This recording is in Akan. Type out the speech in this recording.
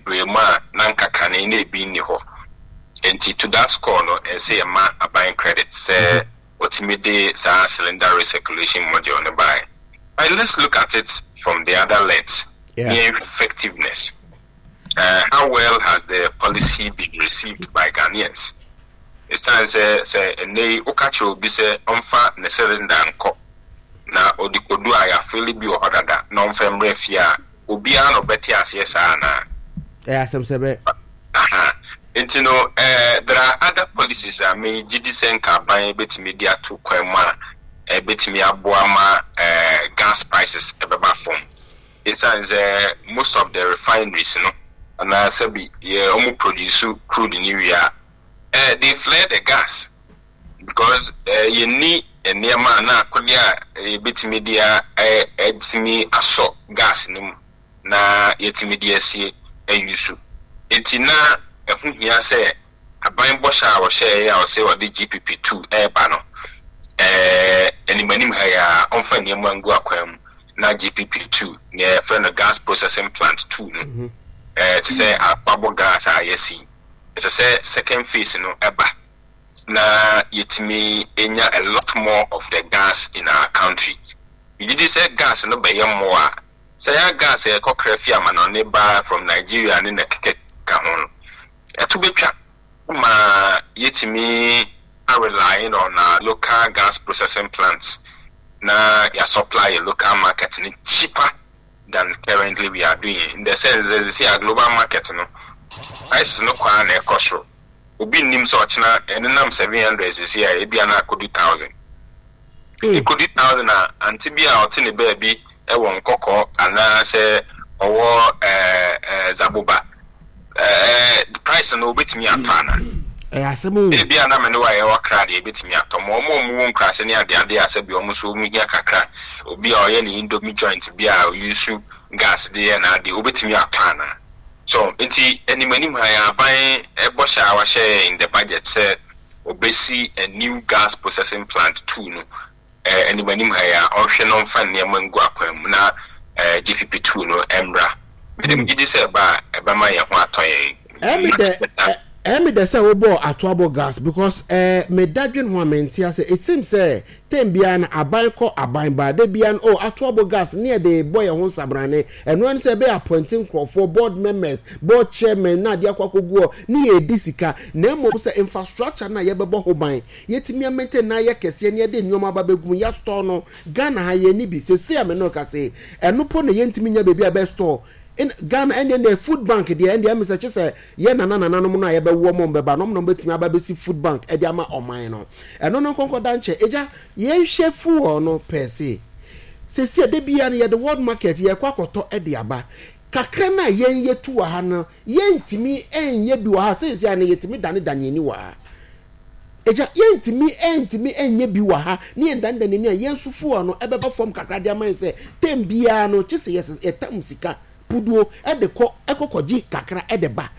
bebree mu a na nka kane na ebi nni hɔ. Nti to that score no, ɛsɛ yɛma aban credit sɛ ɔtumi de saa cylinder recirculation module no bae. But let's look at it from the other lens. Effectiveness. How well has the policy been received by Ghanaians? Ɛsiane sɛ ɛnnɛ yi woka kyerɛ obi sɛ ɔmfa ne cylinder nkɔ na ɔde kodu a yɛafill bi wɔ hɔ dada na ɔmfa mmerɛ fie a, obiara na ɔbɛte aseɛ saa anaa? Ɛyɛ asɛm sɛ bɛ. Aha. Nti no, there are other policies a megye di sɛ nka aban bɛtumi de ato kwan mu a ɛbɛtumi aboa ma gas prices ɛbɛba fam. Ɛsiane sɛ most of the refineries no anaasɛ bi yɛ ɔmo produce crude ne wie a, they flare the gas because yɛnni nneɛma a na akodeɛ a yɛbɛtumi de ɛtumi asɔ gas no mu na yɛtumi de asie ayi so. Nti na ɛho hia sɛ aban bɔhyɛ a wɔhyɛɛ a ɔsɛ ɔde GPP 2 ɛreba no, animanim ha yi a ɔmfa nneɛma ngu akwan mu na GPP 2, nea yɛfrɛ no gas processing plant 2 no, te sɛ Atuabo Gas a yɛasi, ɛsɛ sɛ second phase no ɛba na yɛtumi nya a lot more of the gas in our country. Yɛgye sɛ gas no bɛyɛ mmoa a sɛ yɛ gas a yɛkɔkra fi amanɔne ba from Nigeria ne na keka ka ho no, ɛto bɛtwa ma yɛtumi relying on our local gas processing plants na yɛ supply yɛ local market no cheaper than currently we are doing, in the sense that sɛ a global market no prices no kwan na ɛkɔ soro. Obi nnim sɛ ɔkyena ɛnenam 700 sisi a, ebia na akɔdu 1,000. Ɛkɔdu 1,000 a, ante bi a ɔte ne baabi ɛwɔ Nkɔkɔ anaasɛ ɔwɔ ɛɛ ɛɛ Zaboba, price no obetumi atɔ ana? Ɛyɛ asɛm o. Ebi a na me ne wa yɛwɔ kra deɛ, ebetumi atɔ ma ɔmo a ɔmo wɔ nkurase ne adeade a sɛbi ɔmo nso ɔmo hia kakra. Obi a ɔyɛ ne indomie joint bi a ɔuse gas de yɛ n'ade, obetumi atɔ ana? So nti anim anim ha yɛn aban ɛbɔhyɛ a wahyɛ in the budget sɛ obesi a new gas processing plant 2 no, anim anim ha yɛ a ɔnhwɛ no mfa nneɛma ngu akwan mu na GPP 2 no mmra. Mede gye di sɛ ɛba a, ɛbɛma yɛn ho atɔ yɛn. Ɛmi dɛ sɛ wobɔ Atuabo Gas because meda dwen ho a mente ase. It seems sɛ tem biara na aban kɔ, aban ba de biara no, oh, Atuabo Gas ne yɛde bɔ yɛn ho nsabrane. Ɛno ano sɛ ɛbɛyɛ appointing nkurɔfoɔ, board members, board chairman na adeɛ akɔ akɔgu hɔ ne yɛdi sika, na mmom sɛ infrastructure no a yɛbɛbɔ ho ban, yɛtumi amaintain na ayɛ kɛseɛ ne yɛde nneɛma aba bɛgu mu, yɛastore no. Ghana ha yɛn ni bi sese a me no ka se ɛno po na yɛntumi nya baabi a bɛ store in Ghana. Ɛndeɛ deɛ food bank deɛ, ɛndeɛ ɛmi sɛ kye sɛ yɛ nana nananom no a yɛbɛwɔ mo bɛba no, ɔmo na ɔmo aba bɛsi food bank ɛde ama ɔman no. Ɛno no nkɔnkɔ da nkyɛn. Egya, yɛnhwɛ fuel no pɛɛ se sese ɛde bia no yɛde world market yɛkɔ akɔtɔ ɛde aba kakra na yɛn yɛtu wɔ ha no, yɛntumi ɛnyɛ bi wɔ ha. Sese a no yɛtumi dane dane ani wɔ ha. Egya, yɛntumi ɛntumi ɛnyɛ bi wɔ ha ne yɛn dane dane ani a yɛn nso fuel no ɛbɛba fam kakra de ama yɛn sɛ tem biara no kye sɛ yɛsɛ yɛtam sika puduo ɛde kɔ ɛkɔkɔgye kakra ɛde ba.